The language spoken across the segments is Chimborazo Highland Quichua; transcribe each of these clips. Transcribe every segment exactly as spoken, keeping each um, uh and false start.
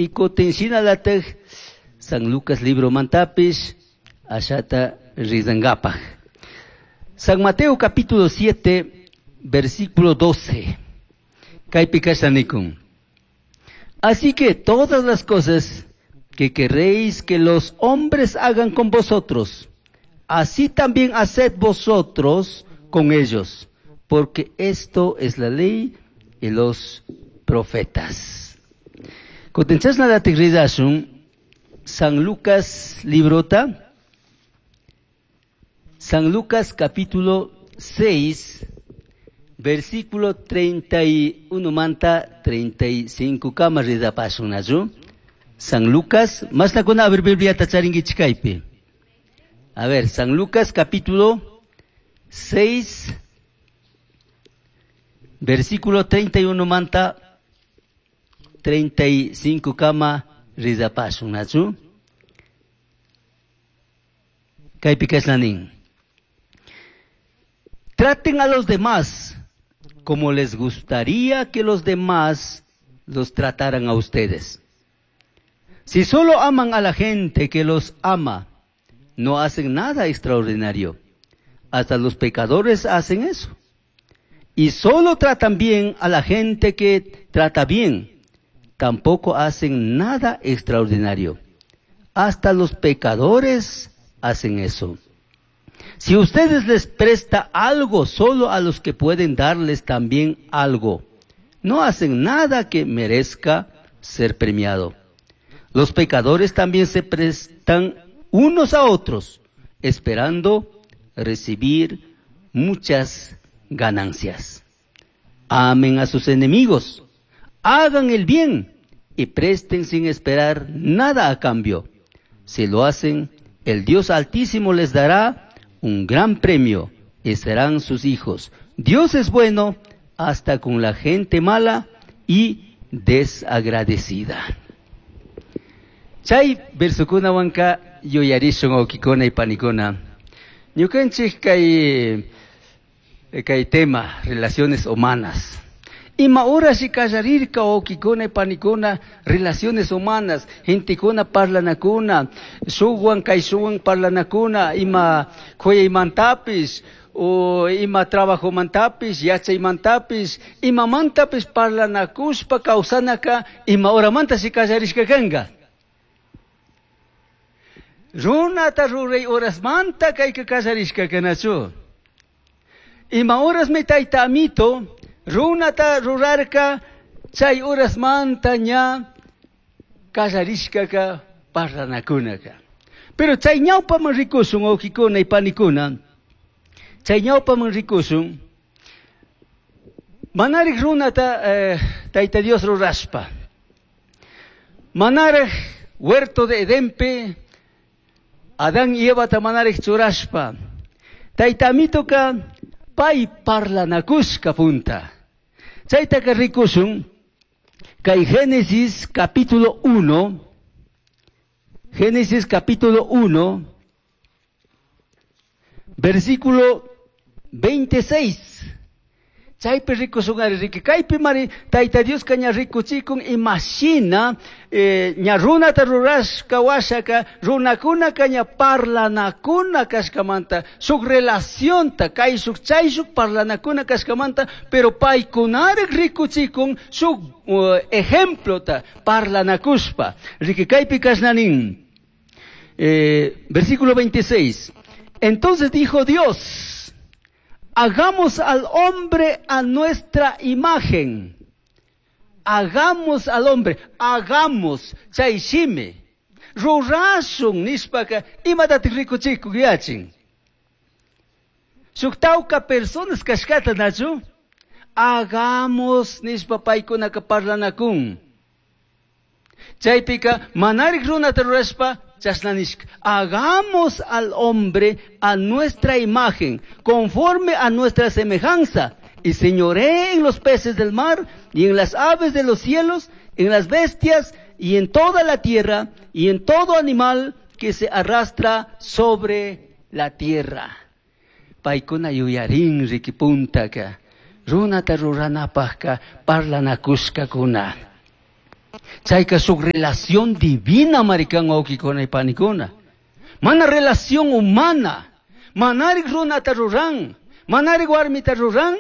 Y kutin shinalataj San Lucas libro mantapish ashata rizangapaj. San Mateo capítulo siete, versículo doce. Kaypi nikun. Así que todas las cosas que queréis que los hombres hagan con vosotros, así también haced vosotros con ellos, porque esto es la ley y los profetas. Kutin chashnalatik rizashun, San Lucas librota, San Lucas capítulo seis, versículo treinta y uno manta treinta y cinco kama rizapashun nachu. San Lucas, más la con abrir Biblia tacharingi chikaypi. A ver, San Lucas capítulo seis, versículo treinta y uno manta treinta y cinco kama rizapashun nachu. Kaypi kasnanin. Traten a los demás como les gustaría que los demás los trataran a ustedes. Si solo aman a la gente que los ama, no hacen nada extraordinario. Hasta los pecadores hacen eso. Y solo tratan bien a la gente que trata bien. Tampoco hacen nada extraordinario. Hasta los pecadores hacen eso. Si ustedes les presta algo solo a los que pueden darles también algo, no hacen nada que merezca ser premiado. Los pecadores también se prestan unos a otros, esperando recibir muchas ganancias. Amen a sus enemigos, hagan el bien y presten sin esperar nada a cambio. Si lo hacen, el Dios Altísimo les dará un gran premio y serán sus hijos. Dios es bueno hasta con la gente mala y desagradecida. Chay versukunawanka yuyarishun wawkikuna y panikuna. Ñukanchik kay, kay tema, relaciones humanas. Ima horas y kallarirka wawkikuna y panikuna, relaciones humanas, gentekuna parlanakuna, shuwan kay shuwan parlanakuna, ima kuyaymantapish, o ima trabajomantapis, yachaymantapis, imamantapis parlanakushpa kawsanaka, ima horamanta si kallarishka kanka. Runata ruray horasmanta kayka kallarishka kanachu. Ima horas mi tayta amito, runata rurarka, chay horasmanta ña kallarishkaka parlanakunaka. Pero chay ñawpaman rikushun, wawkikuna y panikuna, chay ñawpaman rikushun, manarik runata, eh, tayta Dios rurashpa. Manarik huerto de Edenpe, Adán y Eva manarik churashpa. Tayta amitoka pay parlanakushka punta. Chaytaka rikushun, kay Génesis capítulo uno, Génesis capítulo uno, versículo veintiséis. Chaypi rikushun ari riki, kaypi mari Tayta Dios ka ña rikuchikun imashina, eh, ña runata rurashka washaka, runakunaka ña parlanakuna kashkamanta, shuk relacionta, kayshuk chayshuk parlanakuna kashkamanta, pero paykunarik rikuchikun shuk, uh, ejemplota parlanakushpa. Riki kaypi kashnanin. Eh, versículo veintiséis. Entonces dijo Dios, hagamos al hombre a nuestra imagen. Hagamos al hombre, hagamos, chayshime. Rurashun nishpaka, imatatik rikuchiku yachin. Shuk tawka personas kashkata nachu, hagamos nishpa paykunaka parlanakun. Chaypika manarik runata rurashpa, chasnanishka. Hagamos al hombre a nuestra imagen, conforme a nuestra semejanza, y señoree en los peces del mar, y en las aves de los cielos, en las bestias, y en toda la tierra, y en todo animal que se arrastra sobre la tierra. Paykuna yuyarin rikipuntaka, runata ruranapajka parlanakushkakuna. Chayka shuk relación divina marikan wawqikuna y panikuna. Mana relación humana. Manarik runata ruran. Manarik warmita ruran.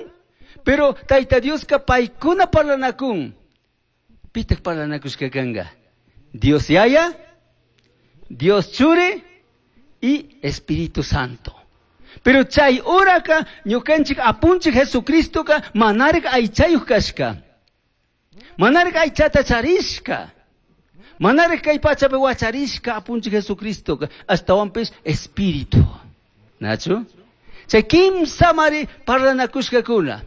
Pero Tayta Dioska paykuna parlanakun. Pitak parlanakushka kanka. Dios Yaya, Dios Churi y Espíritu Santo. Pero chay horaka ñukanchik apunchik Jesucristoka manarik aychayuq kashka. Manarik aychata charishka. Manarik kay pachapi wacharishka apunchik Jesucristoka ashtawanpish Espíritu. Nachu? Chay kimsamari parlanakushkakuna.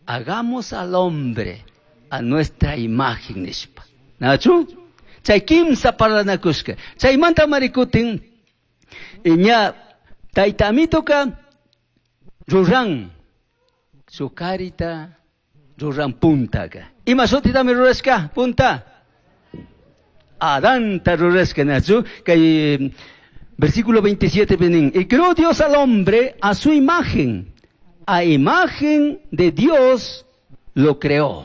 Hagamos al hombre a nuestra imagen nishpa. Nachu? Chay kimsa parlanakushka. Chaymanta marikutin ña Tayta Amitoka ruran shuk karita ruran puntaka. Ima shutitami rurashka punta? Adanta rurashka nachu. Kay versículo veintisiete nin. Y creó Dios al hombre a su imagen. A imagen de Dios lo creó.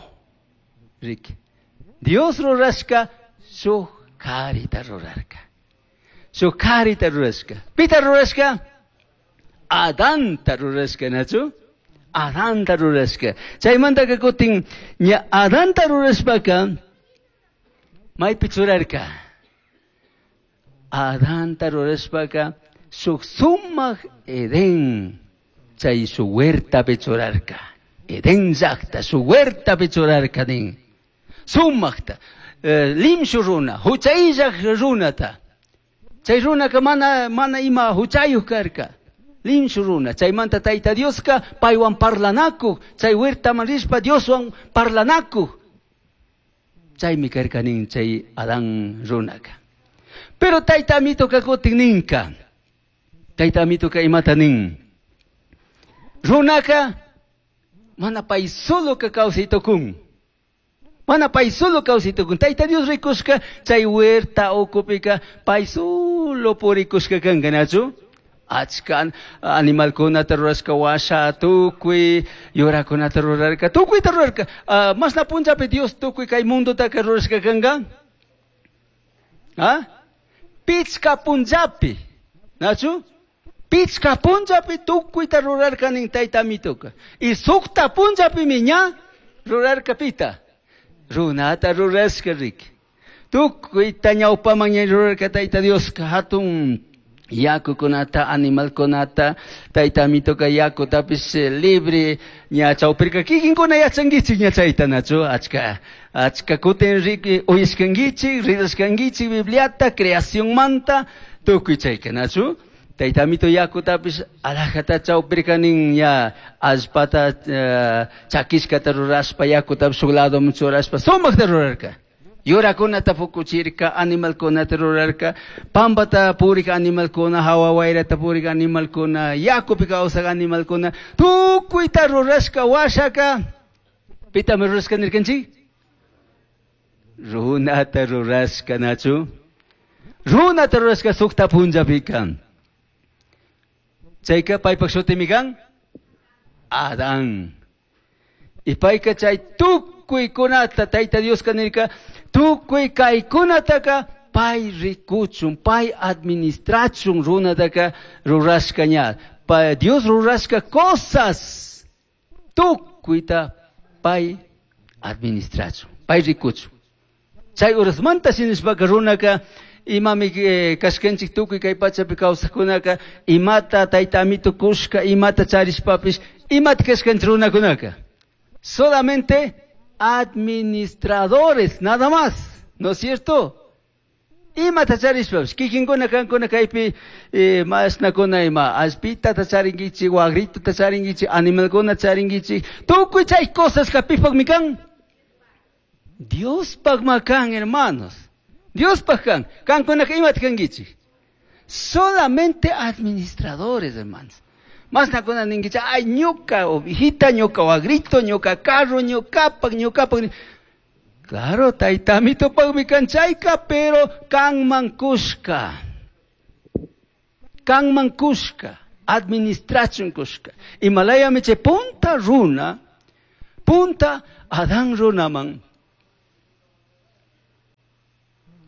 Ricky. Dios rurashka shuk karita rurarka. Shuk karita rurashka. Pita rurashka? Adanta rurashka nachu? Adanta rurashka. Chaymantaka kutin ña Adanta rurashpaka maypi churarka. Adanta rurashpaka shuk sumak Edén chay shuk huertapi churarka. Edén llaqta shuk huertapi churarka nin. Sumakta eh, limshu runa, huchayllaq runata. Chay runaka mana mana ima huchayuq karka. Limshu runa, chaymanta Tayta Dioska paywan parlanakuq, chay huertaman rishpa Dioswan parlanakuq. Chaymi karka nin chay Adán runaka. Pero Tayta Amitoka kutin ninka. Tayta Amitoka imata nin. Runaka mana pay solo ka kawsay tukun. Mana pay solo kawsay tukun. Tayta Dios rikushka chay huerta ukupika pay solo purikushka kanka nachu. Achka animalkunata rurashka washa tukuy yurakunata rurarka tukuyta rurarka. Uh, masna punllapi Dios tukuy kay mundotaka rurashka kanka? Ah? Pichka punllapi. Nachu? Pichka punllapi tukuyta rurarka nin Tayta Amitoka. Y sukta punllapimi ña rurarka pita. Runata rurashka riki. Tukuyta ñawpaman ña rurarka Tayta Dioska hatun yakukunata, animalkunata, Tayta Amitoka yakutapish libre ña chawpirka kikinkuna yachankichik ña chayta nachu achka achka kutin riki uyashkankichik rirashkankichik Bibliata creacionmanta tukuy chayka nachu Tayta Amito yakutapish alajata chawpirka nin ña allpata uh, chakishkata rurashpa yakutapish shuk ladoman churashpa sumakta rurarka. Yurakunata fukuchirka, animalkunata rurarka, pampata purik animalkuna, hawa wayrata purik animalkuna, yakupi kawsaq animalkuna, tukuyta rurashka washaka. Pitami rurashka nirkanchik? Runata rurashka nachu. Runata rurashka sukta punllapika. Chayka paypak shutimi kan? Adán. Y payka chay tukuykunata Tayta Dioska nirka tukuy kaykunataka pay rikuchun, pay administrachun runataka rurashka ña. Pa Dios rurashka cosas tukuyta pay administrachun, pay rikuchun. Chay urasmanta shinishpaka runaka imami eh, kashkanchik tukuy kay pachapi kawsaqkunaka imata Tayta Amito kushka imata charishpapish imata kashkanchik runakunaka. Solamente administradores, nada más, ¿no es cierto? Imata charishpapish, kikinkuna kankuna kaypi eh, mashnakuna ima allpitata charinkichik, wagritata charinkichik, animalkuna charinkichik, tukuy chay cosas pipaqmi kan? Diospaqma kan, hermanos. Diospaq kan. Kankunaka imata kankichik? Solamente administradores, hermanos. Mashnakuna ninkichik, ay ñuka ovejita, ñuka wagrito, ñuka carro, ñukapak, ñukapak. Claro, Tayta Amitopaqmi kan chayka, pero kanman kushka. Kanman kushka, administrachun kushka. Imalayami chay punta runa, punta Adán runaman.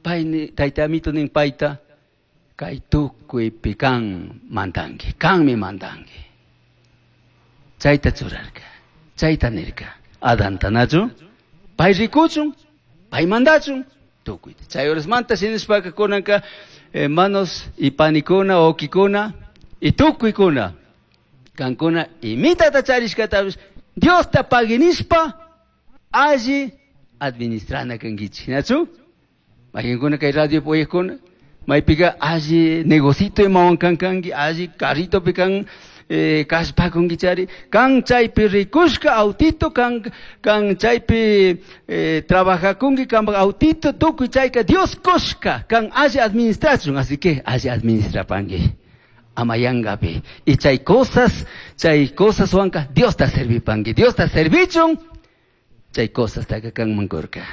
Pay tayta amito nin payta kay tukuypi kan mandanki, kanmi mandanki. Chayta churarka, chayta nirka. Adanta nachu, pay rikuchun, pay mandachun, tukuyta. Chay horasmanta shinashpaka kunanka hermanos y panikuna, wawkikuna y tukuykuna. Kankuna imitata charishkatapish Diosta pagui nishpa alli administrana kankichik, nachu? Mayqinkuna kay radio uyaqkuna, maypika alli negocito imawan kan kanki, alli carritopi kan eh, kashpakunkichari, kan chaypi rikushka autito, kan, kan chaypi eh, trabajakunki, kanpak autito, tukuy chayka Dios kushka, kan alli administrachun, así que alli administrapanki. Ama yankapi. Y chay cosas, chay cosas wanka, Diosta servipanki, Diosta servichun, chay cosas taka kanman kurka.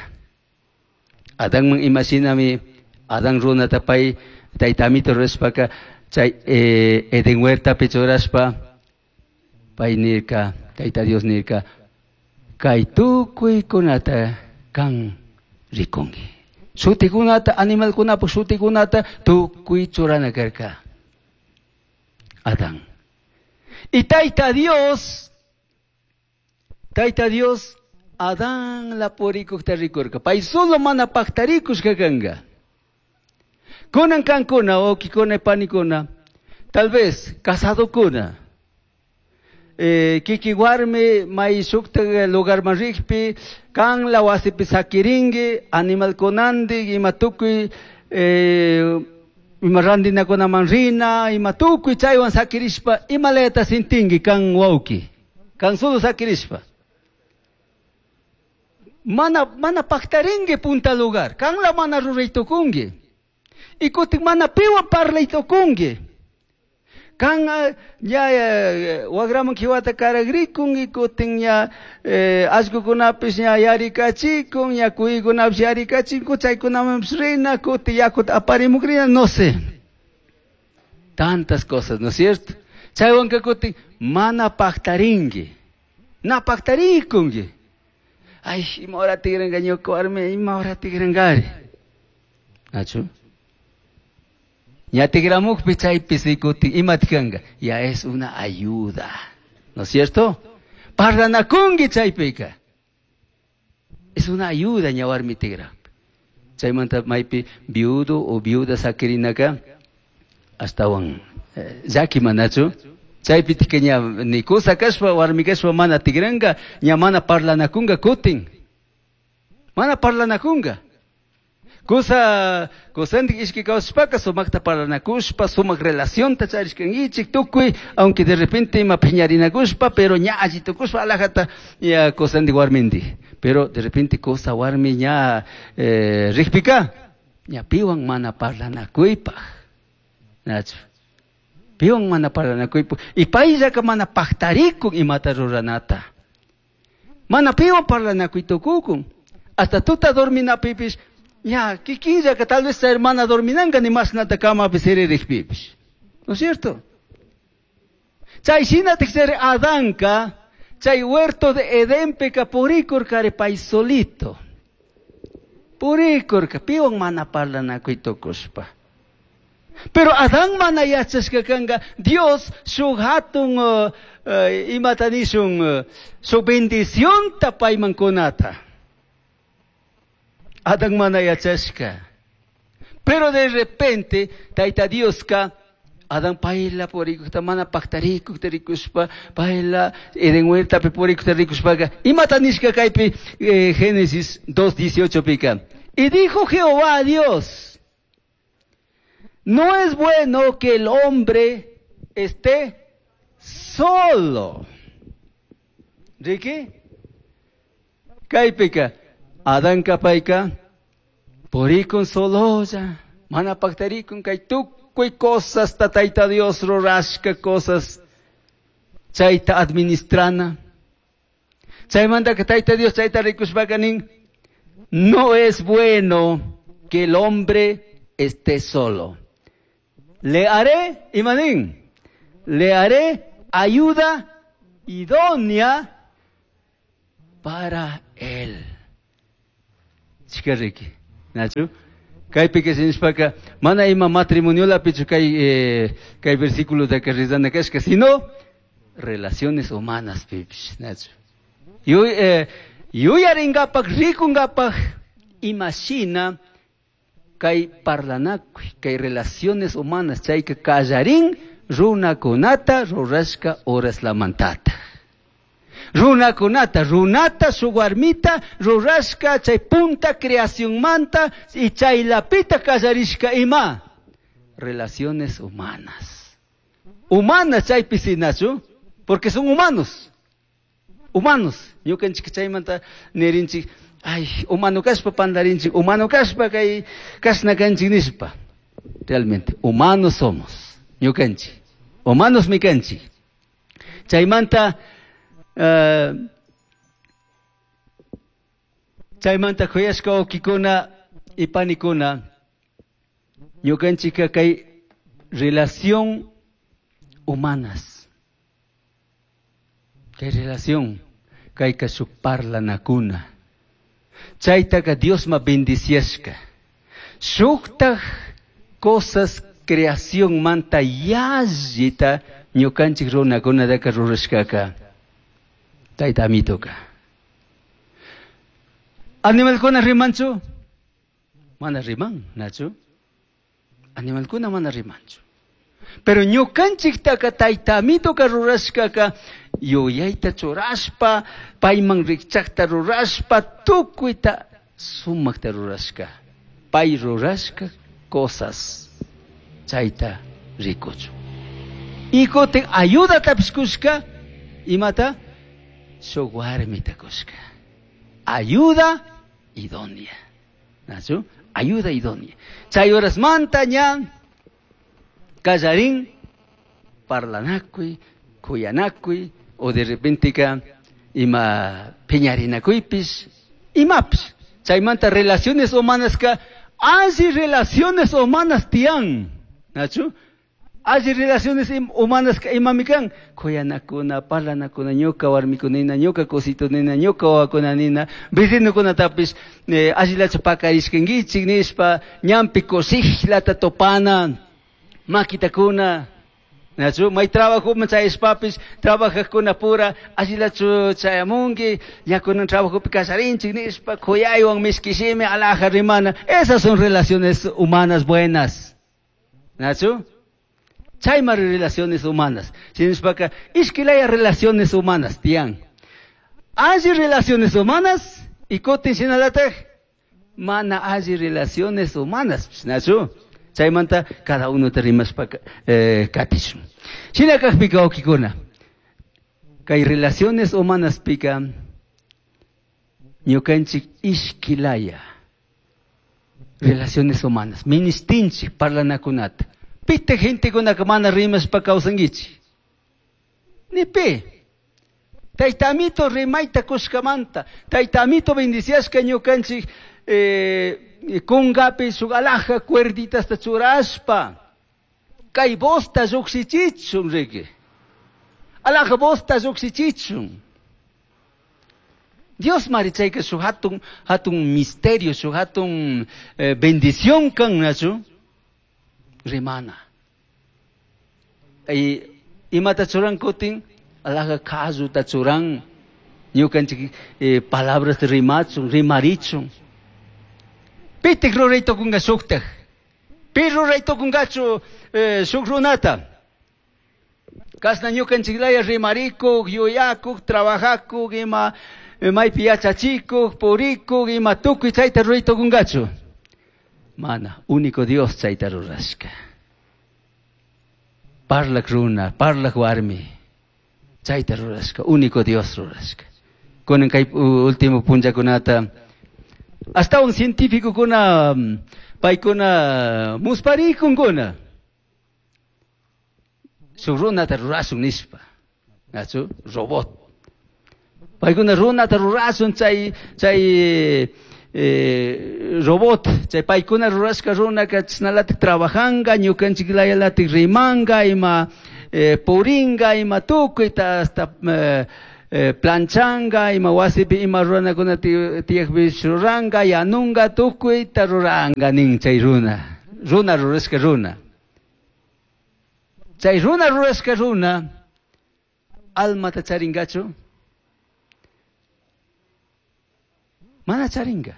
Adánman imashinami, Adán runata pay, tayta amito rurashpaka, chay eh, Edén huertapi churashpa, pay nirka, tayta Dios nirka, kay tukuykunata kan rikunki. Shutikunata, animalkunapuk shutikunata, tukuy churana karka. Adán. Y tayta Dios, tayta Dios, Adán la purikukta rikurka. Pay solo mana paktarikushka kanka. Kunan kankuna, wawkikuna, panikuna, tal vez casadokuna, eh, kiki warmi may shukta lugarman rikpi, kan la wasipi sakirinki, animalkunantik, ima tukuy, eh, ima randinakunaman rina, ima tukuy chaywan sakirishpa, imalayata sintinki kan wawki, kan solo sakirishpa. Mana, mana paktarinki punta lugar, kan la mana ruraytukunki. Y kutin mana piwan parlaytukunki. Kan ña eh, wagraman kiwata karagrikun y kutin ña eh, allkukunapish ña yarikachikun, ña kuykunapish yarikachikun, chaykunamanpish rina, kutin yakuta aparimukrina, no sé. Tantas cosas, ¿no es cierto? Chaywanka kutin mana paktarinki. Na paktarikunki. Ay, ima hora tigranka ñuka warmi, ima hora tigrankari. Nachu? Ña tigramukpi chaypi sikutin, imati kanka? Ya es una ayuda, ¿no es cierto? Parlanakunki chaypika. Es una ayuda ña warmi tigrakpi. Chaymanta maypi viudo o viuda sakirinaka ashtawan eh, llaki manachu. Chaypi tika ña ni kusa kashpa warmi kashpa mana tigranka, ña mana parlanakunka kutin. Mana parlanakunka. Kusa, kusantik ishki kawsashpaka sumakta parlanakushpa, sumak relacionta charishkankichik tukuy, aunque de repente ima piñarinakushpa, pero ña alli tukushpa alajata ña kusantik warmintik. Pero de repente kusa warmi ña eh, rikpika, ña piwan mana parlanakuypaj. Nachu. Piwan mana parlanakuypaj. Y payllaka mana paktarikun imata ruranata. Mana piwan parlanakuytukukun. Hasta tuta dorminapipish, ya, kikinllaka tal vez hermana dorminanka ni mashnata kamapi siririkpipish. ¿No es cierto? Chay shinatik chari Adanka, chay huerto de Edenpeka purikurkari pay solito. Purikurka, piwan mana parlanakuytukushpa. Pero Adán mana yachashka kanka, Dios shuk hatun uh, uh, imata nishun, uh, shuk bendicionta payman kunata. Adán mana yachashka. Pero de repente, Tayta Dioska, Adán payla purikukta mana paktarikukta rikushpa, payla Edén huertapi purikukta rikushpaka. Imata nishka kaypi eh, Génesis dos dieciocho pika. Y dijo Jehová a Dios, no es bueno que el hombre esté solo. Ricky? Kaypika, Adán kapayka, purikun sololla, mana paktarikun kay tukuy cosas ta Tayta Dios rurashka cosas, chayta administrana. Chaymantaka Tayta Dios chayta rikushpaka nin, no es bueno que el hombre esté solo. Le haré, imanín, le haré ayuda idónea para él. Chikariki, Nachu, Kaypika shinashpaka mana ima matrimoniolapichu kay eh, kay versículotaka rezana kashka, sino relaciones humanas pipish, nachu. Yu, eh, yuyarinkapak rikunkapak imashina kay parlanakuy, kay relaciones humanas chayka kallarin runakunata rurashka horaslamantata. Runakunata, runata, shuk warmita rurashka chay punta creacionmanta y chaylapita kallarishka ima relaciones humanas. Humanas chaypi sinachu, porque son humanos. Humanos. Ñukanchik chaymanta nirinchik, ay, humano kashpa pandarinchik, humano kashpa kay kashna kanchik nishpa. Realmente, humanos somos. Ñukanchik. Humanos mi kanchik. Chaymanta uh, chaymanta kuyashka wawkikuna y panikuna ñukanchikka kay relación humanas. Kay relación kayka shuk parlanakuna. Chaytaka Diosma bendiciashka. Shuktaj cosas creación manta yallita ñukanchik runakunataka rurashkaka. Tayta amitoka. Animalkuna rimanchu? Mana riman, nachu? Animalkuna mana rimanchu. Pero ñukanchiktaka tayta amitoka rurashkaka yuyayta churashpa, payman rikchakta rurashpa, tukuyta sumakta rurashka. Pay rurashka cosas chayta rikuchu. Y kutin ayudatapish kushka, imata? Shuk warmita kushka. Ayuda idónea. Nachu? Ayuda idónea. Chay horasmanta ña kallarin parlanakuy, kuyanakuy, o de repente ka ima piñarinakuypish, imapish. Chaymanta relaciones humanas ka alli relaciones humanas tiyan. Nachu? Alli relaciones humanas ka imami kan kuyanakuna, parlanakuna, ñuka warmikunina, ñuka kusitunina, ñuka wawakunanina, vecinokunatapish eh, allillachu pakarishkankichik nishpa, ñampi kushikllata topana, makitakuna. Nachu, may trabajoman chayashpapish, trabajajkuna pura, allillachu chayamunki, ñakunan trabajopi kallarinchik nishpa, kuyaywan mishkishimi alaja rimana. Esas son relaciones humanas buenas. Nachu? Chaymari relaciones humanas. Shinashpaka, ishkilaya relaciones humanas, tiyan. Alli relaciones humanas, y kutin shinalataj, mana alli relaciones humanas. Nachu? Chaymanta cada uno te rimashpaka eh, katishun. Shina kajpika wawkikuna, kay relaciones humanas pika, ñukanchik ishkilaya relaciones humanas, ministinchik parlanakunata. Pite gentekunaka mana rimashpa kawsankichik. Ni pi. Tayta amito rimayta kushkamanta, tayta amito bendiciashka ñukanchik eh, kungapi shuk alaja cuerditasta churashpa, kay vosta llukshichichun riki. Alaja vosta llukshichichun. Dios mari chayka shuk hatun, hatun misterio, shuk hatun eh, bendición kan, nachu? Rimana. Y imata churan kutin, alaja kalluta churan, ñukanchik eh, palabras rimachun, rimarichun. Pitik ruray tukunga shuktaj. Pi ruray tukungachu eh, shuk runata. Kasna ñukanchiklaya rimarikuk, yuyakuk, trabajakuk, ima maypi yachachikuk, purikuk, ima tukuy chayta ruray tukungachu. Mana, único Dios chayta rurashka. Parlak runa, parlak warmi, chayta rurashka, único Dios rurashka. Kunan kay último punllakunata, hasta un científico kuna paykuna musparikunkuna. Shuk runata rurashun nishpa, nachu? Robot. Paykuna runata rurashun chay chay eh, robot, chay paykuna rurashka runaka chashnalatik trabajanga, ñukanchik layalatik rimanga, ima eh, puringa, ima tukuyta hasta eh, eh, planchanga, ima wasipi ima ruranakuna tiyakpish ruranga, yanunga, tukuyta ruranga nin chay runa. Runa rurashka runa. Chay runa rurashka runa, almata charingachu? Mana charinga.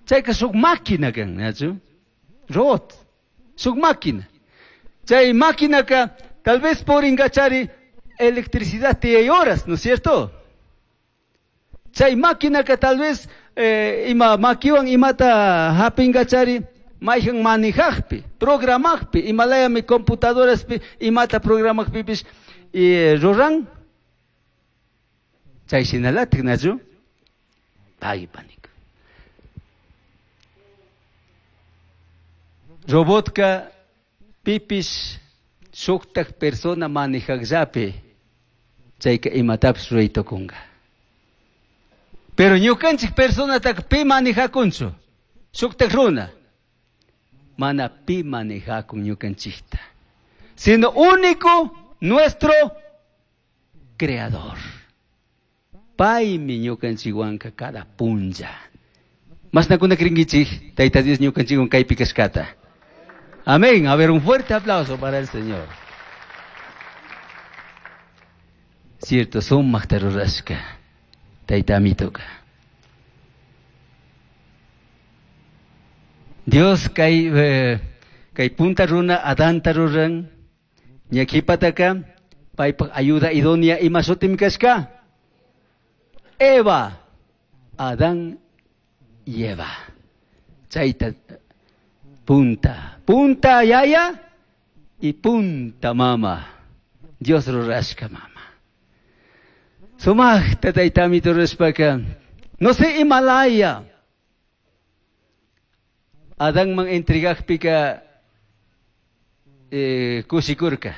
Chayka shuk máquina kan, nachu? Robot. Shuk máquina. Chay máquinaka tal vez poringachari electricidad tiyay horas, ¿no es cierto? Chay máquinaka tal vez eh, ima makiwan imata hapingachari mayhan manejajpi, programajpi, imalayami computadoraspi imata programajpipish y ruran. Chay shinalatik, nachu? Ay, pánico. Robotka pipish shuktak persona manejajllapi chayka imatapish ruraytukunga. Pero ñukanchik personataka pi manejakunchu, shuktak runa. Mana pi manejakun ñukanchikta, sino único nuestro creador. Paymi ñukanchikwanka cada punlla. Masnakuna krinkichik, Tayta Dios ñukanchikwan kaypi kashkata. Amén. A ver, un fuerte aplauso para el Señor. Cierto, sumaqta rurashka Tayta Amituka. Dios kay eh, kay punta runa Adanta ruran, ñakipataka paypaq ayuda idónea ima shutim kashka. Eva, Adán y Eva. Chayta punta, punta yaya y punta mama. Dios rurashka mama. Sumaqta Tayta Amito rurashpaka, no sé Himalaya. Adánman entregajpika eh, kushikurka.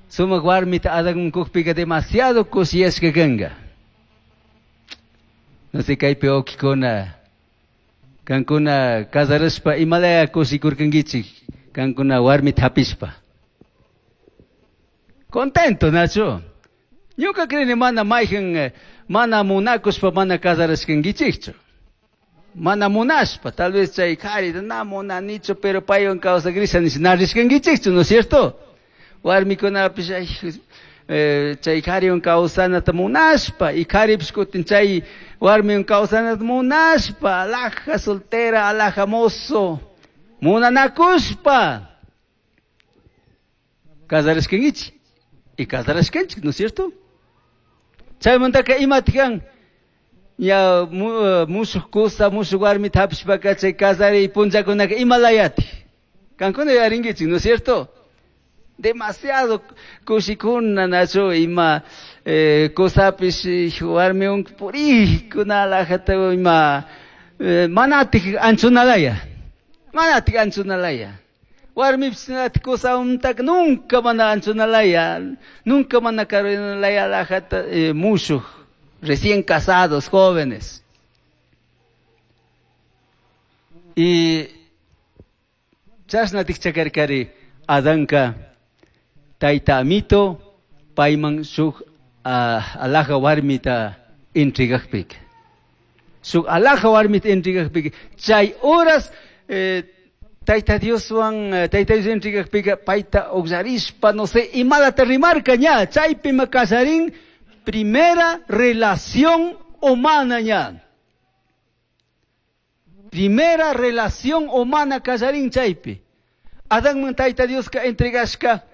Sumaq warmita Adánman kukpika demasiado kushiyashka kanka. No sé kaypi wawqikuna, kankuna casarashpa imalaya kushikurkankichik, kankuna warmita hapishpa. Contento, nachu? Ñuka creni mana mayhan, mana munakushpa mana casarashkankichikchu. Mana munashpa, tal vez chay qhari, na munanichu, pero paywan kawsakrisha nish na rishkankichikchu, ¿no es cierto? Warmikunapish, ay, eh, chay qhariwan kawsanata munashpa, y qharipish kutin chay warmiwan kawsanata munashpa, alaja soltera, alaja mozo, munanakushpa. Casarashkankichik, y casarashkanchik, ¿no es cierto? Chaymantaka imatikan, ya mushuq kusa, mushuq warmita hapishpaka chay casariy punllakunaka imalayati. Kankuna yarinkichik, ¿no es cierto? Demasiado kushikuna, nachu, ima eh, kusapish warmiwan purikuna alajata ima eh, manatik anchunalaya. Manatik anchunalaya. Warmipish natik kusawantak nunca mana anchunalaya, nunca mana karunalaya alajata eh, mushuq, recién casados, jóvenes. Y chashnatik chakarkari Adanka Tayta Amito payman shuk alaja warmita entregajpika. Shuk alaja warmita entregajpika. Chay horas eh, Tayta Dioswan Tayta Dios entregajpika payta uqllarishpa no sé imalata rimarka ña chaypima kasarin primera relación humana ña. Primera relación humana kasarin chaypi. Adanman Tayta Dioska entregashka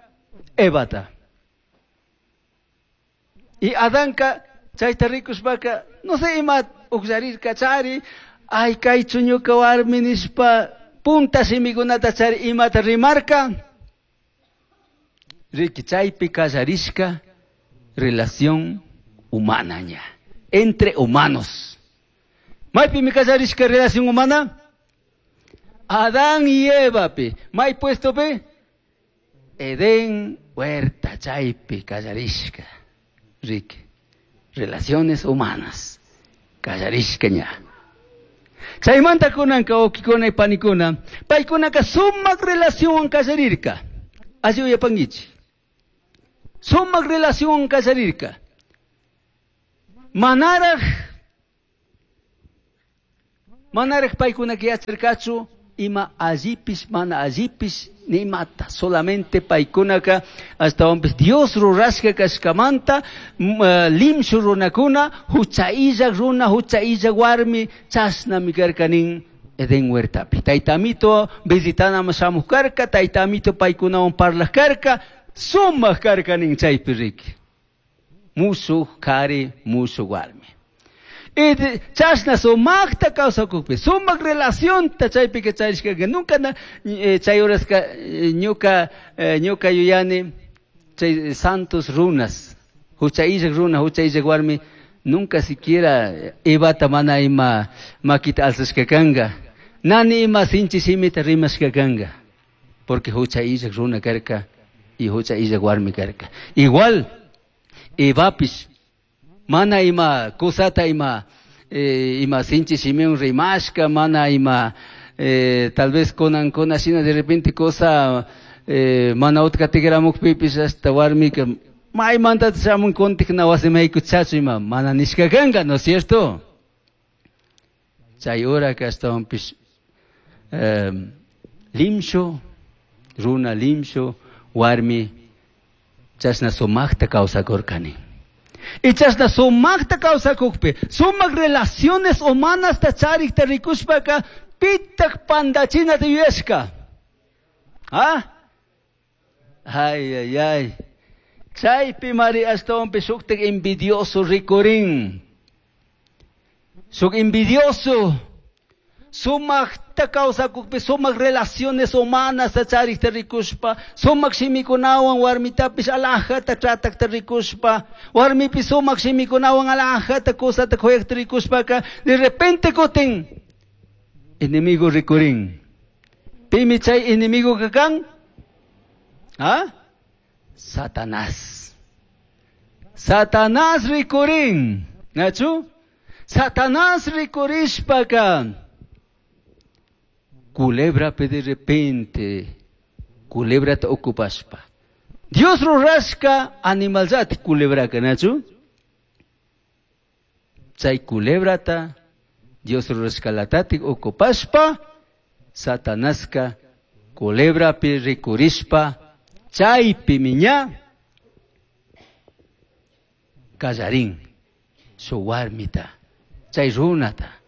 Evata. Y Adanka chayta rikushpaka no sé ima uqllarirka chari, ay kaychu ñuka warmi nishpa punta shimikunata chari imata rimarka. Riki chaypi kallarishka relación humana ña, entre humanos. Maypimi kallarishka relación humana? Adán y Eva pi. May puesto pi? Edén huerta chaypi kallarishka. Riki, relaciones humanas kallarishka ña. Chaymanta kunanka wawqikuna y panikuna, paykunaka sumaq relacionwan kallarirka. Alli uyapankichik. Sumaq relacionwan kallarirka. Manaraj manaraj paykunaka yacharkachu ima allipish mana allipish nimata solamente paykunaka ashtawanpish Dios rurashka kashkamanta limshu runakuna hucha illak runa hucha illak warmi chashnami karka nin Edén huertapi. Tayta Amito visitanaman shamuj karka, Tayta Amito paykunawan parlaj karka, sumaq karka nin chaypi riki. Mushuj kari, mushuj warmi. Y chashna sumaqta kawsakukpi, sumaq relacionta chaypika charishkaka, nunca na chay horaska ñuka ñuka yuyani chay santos runas, hucha illak runa, hucha illak warmi, nunca siquiera Evata mana ima makita alzashka kanga, nani ima sinchi shimita rimashka kanga, porque hucha illak runa karka y hucha illak warmi karka. Igual Evapish mana ima kusata ima eh, ima sinchi shimiwan rimashka, mana ima eh, tal vez kunan kuna shina de repente cosa eh, mana utka tikramukpipish hasta warmika maymanta shamun kuntik na wasimaykuchachu ima mana nishka kanka, ¿no es cierto? Chay horaka ashtawanpish eh, limshu runa limshu warmi chashna sumaqta kawsakurkani. Y chashna sumaqta kawsakukpi, sumaq relaciones humanasta charikta rikushpaka pitak pandachinata yuyashka. ¿Ah? Ay, ay, ay. Chaypi mari ashtawanpish shuktak envidioso rikurin. Shuk envidioso. Sumaqta kawsakukpi, sumaq relaciones humanas charikta rikushpa, sumaq shimikunawan warmitapish alajata tratakta rikushpa, warmipi sumaq shimikunawan alajata kusata kuyakta rikushpaka, de repente kutin enemigo rikurin. Pimi chay enemigo kakan? ¿Ah? Satanás. Satanás rikurin. ¿Nachu? Satanás rikurishpaka culebra de repente, culebra ta ocupashpa. Dios rurashka animalzati culebraka, ¿nachu? Chay culebrata Dios rurashka latatik ocupashpa, Satanaska culebrapi rikurishpa, chaypi miña kallarin su warmita, chay runata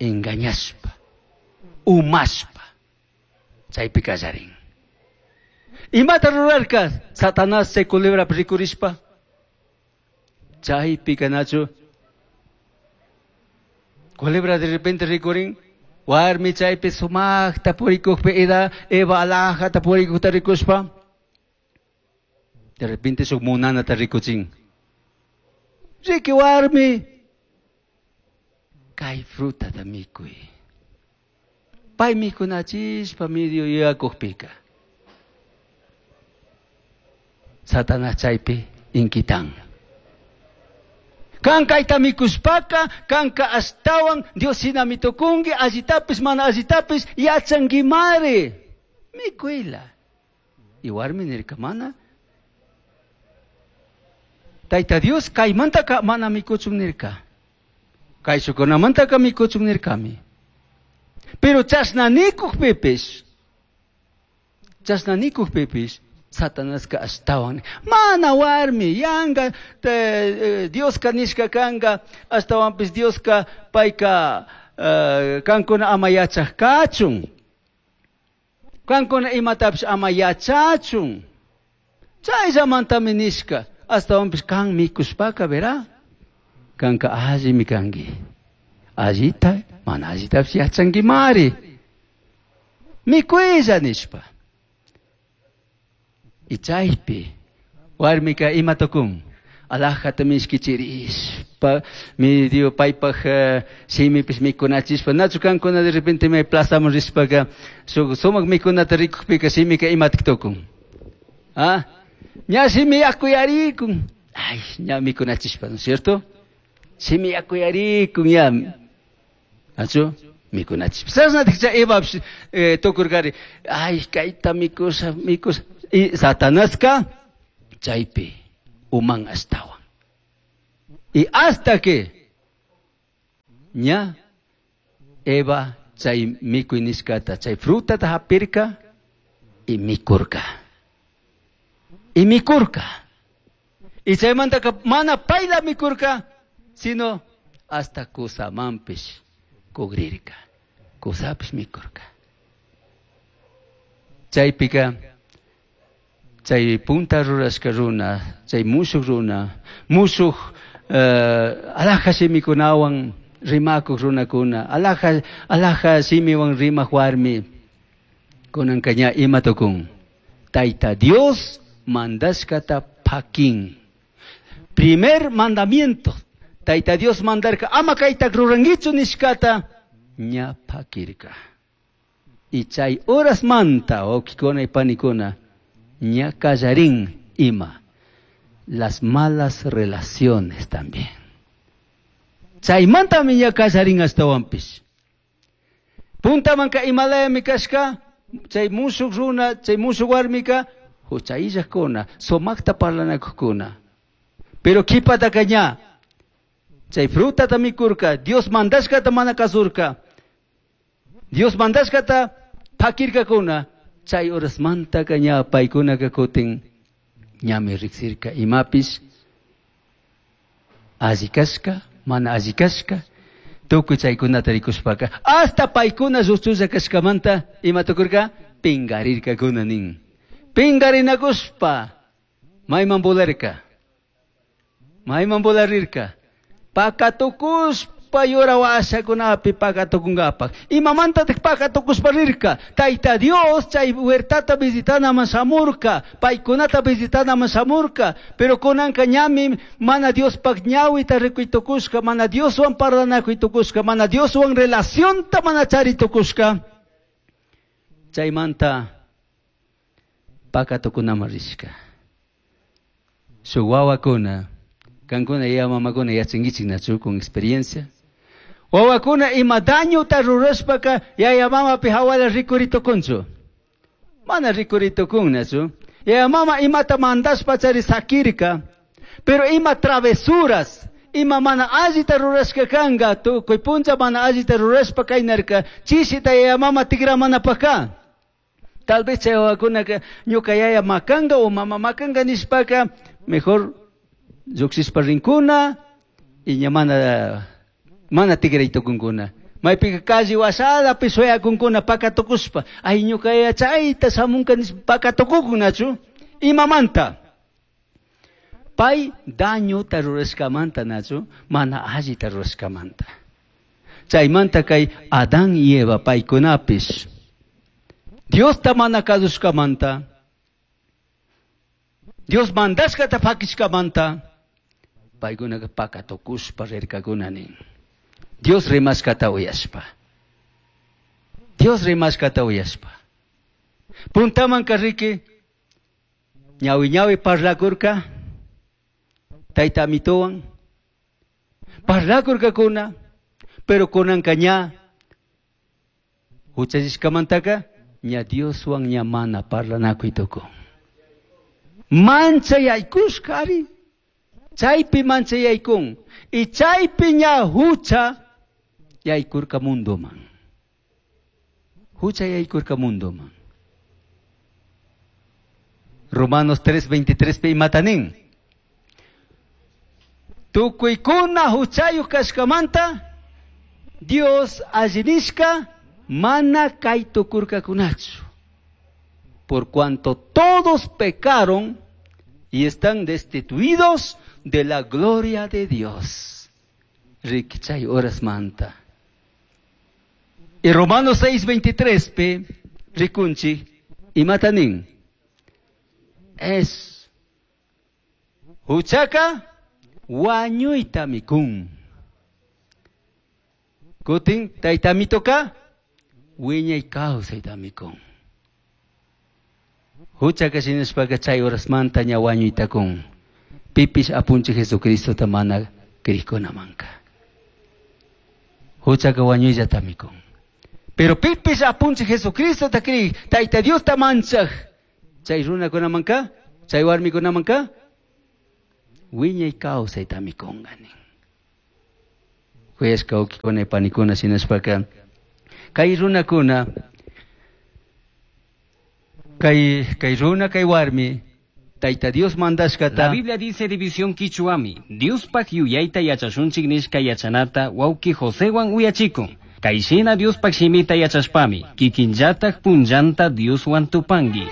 engañashpa, umashpa, chaypi kallarin. Imata rurarka Satanás chay culebrapi rikurishpa, chaypi kanachu culebra de repente rikurin, warmi chaypi sumaqta purikukpi ida Eva alajata purikukta rikushpa, de repente shuk munanata rikuchin. Riki warmi, kay frutata mikuy. Pay mikunachishpa medio yuyakukpika. Satanás chaypi inkitan. Kan kayta mikushpaka, kanka ashtawan Dios shinami tukunki, allitapish mana allitapish yachankimari. Mikuyla. Y warmi nirka mana. Tayta Dios kaymantaka mana mikuchun nirka. Kayshukunamantaka mikuchun nirkami. Pero chashna nikukpipish, chashna nikukpipish, Satanaska ashtawan mana warmi yanga te, Dioska nishka kanga ashtawanpish Dioska payka uh, kankuna ama yachaj kachun, kankuna imatapish ama yachachun, chayllamantami nishka ashtawanpish kan mikushpaka verá kanka allimi kanki, allita mana allitapish yachankimari, mikuylla nishpa. Y chaypi warmika ima tukun alajata mishkichirishpa medio paypaj shimipish mikunachishpa nachu kankuna de repente may plazaman rishpaka shuk sumak mikunata rikukpika shimika imatik tukun. Ah, ña shimi yakuyarikun, ay ña mikunachishpa, ¿no es cierto? Shimi yakuyarikun ña nachu mikunachishpa. Chashnatik chay Evapish tukurkari, ay kayta mikusha mikusha. Y Satanaska chaypi Uman ashtawan. Y hasta que ña Eva chay mikuy nishkata, chay frutata hapirka y mikurka. Y mikurka. Y chaymantaka mana payla mikurka, sino hasta kusamanpish kugrirka. Kusapish mikurka. Chaypika chay punta rurashka runa, chay mushuk runa, mushuk uh, alaja shimikunawan rimakuq runakuna, alaja, alaja shimiwan rimaq warmi, kunanka ña ima tukun. Tayta Dios mandashkata pakin. Primer mandamiento, Tayta Dios mandarka ama kayta rurankichu nishkata ña pakirka. Y chay horas manta, wawkikuna y panikuna, ña kallarin ima. Las malas relaciones también. Chaymantami ña kallarin ashtawanpish. Puntamanka imalayami kashka, chay mushuk runa, chay mushuk warmika, huchayillakuna, sumakta parlanakuqkuna. Pero kipataka ña, chay frutata mikurka, Dios mandashkata mana kasurka. Dios mandashkata pakirkakuna, chay horasmantaka ña paykunaka kutin ñami riksirka imapish alli kashka, mana alli kashka, tukuy chaykunata rikushpaka, hasta paykuna lluchulla kashkamanta ima tukurka, pingarirkakuna nin. Pingarinakushpa, mayman volarka, mayman volarirka, pakatukushpa yura washakunapi pakatukunkapak. Imamantatik pakatukushpa rirka, Tayta Dios chay huertata visitanaman shamurka, paykunata visitanaman shamurka, pero kunanka ñami mana Diospaq ñawita rikuytukushka, mana Dioswan parlanakuytukushka, mana Dioswan relacionta mana charitukushka. Chaymanta pakatukunaman rishka. Shuk wawakuna, kankuna yaya mamakuna yachankichik nachu con experiencia. Wawakuna ima dañuta rurashpaka yaya mamapi hawala rikuritukunchu. Mana rikuritukun Yaya mama imata mandashpa chari sakirka, pero ima travesuras, ima mana allita rurashka kanka, tukuy puncha mana allita rurashpa kaynarka, chishita yaya mama tikramanapaka. Tal vez chay wawakunaka ñuka yaya makanga o mama makanga nishpaka, mejor llukshishpa rinkuna y ña mana mana tikraytukunkuna. Maypika calle washalapi shuyakunkuna pakatukushpa, ay ñuka yaya chayta shamunka nishpa pakatukukunachu. Imamanta? Pay dañuta rurashkamanta nachu, mana allita rurashkamanta. Chaymanta kay Adán y Eva paykunapish Diosta mana kasushkamanta, Dios mandashkata pakishkamanta, paykunaka pakatukushpa rirkakuna nin. Dios rimashkata uyashpa. Dios rimashkata uyashpa. Puntamanka riki, ñawi ñawi parlakurka, tayta amituwan, parlakurkakuna, pero kunanka ña, huchallishkamantaka, ña Dioswan ña mana parlanakuytukun. Manchayaykushka ari, chaypi manchayaykun, y chaypi ña hucha yaykurka mundoman. Hucha yaykurka mundoman. Romanos tres veintitrés pi imatanin. Tukuykuna huchayuq kashkamanta Dios allinishka mana kay tukurkakunachu. Por cuanto todos pecaron y están destituidos de la gloria de Dios. Riki chay horas manta. Y Romanos seis veintitrés pe rikunchi imatanin. Es huchaka wañuyta mikun. Kutin tayta mitoka wiñay kawsayta mikun. Huchaka shinashpaka chay horasmanta ña wañuyta kun. Pipish apunchi Jesucristo mana krikunamanka. Huchaka wañuyllata mikun. Pero pipish apunchi Jesucristo ta kri, Tayta Dios ta manchaj. Chay runakunamanka, chay warmikunamanka, Wiñay kawsaytami kunga nin. Kuyashka wawkikuna panikuna shinashpaka kay runakuna kay kay runa kay warmi Tayta Dios mandashkata La Biblia dice división quichuami, Diospaj yuyayta yachashunchik nishka yachanata wawki Josewan uyachikun. Kayshina Diospaj shimita yachashpami, kikinllataj punllanta Dioswan tupangi.